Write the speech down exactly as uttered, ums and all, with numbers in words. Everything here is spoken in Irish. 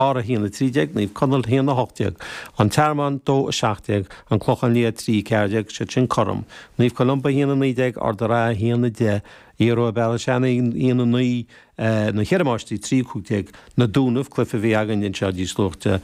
a haon a trí déag, Naomh Conaill a haon a hocht déag, An Tearmann dó a seacht déag, An Clochán Liath trí a ceathair déag, siad sin cothrom, Naomh Columba a haon a naoi déag, Ard an Rátha a haon a deich, Iarmhá Béal Átha Seanaidh a haon a naoi, Na Ceithre Máistrí trí a cúig déag, Na Dúnaibh, cluiche a bhí againn anseo níos luaithe.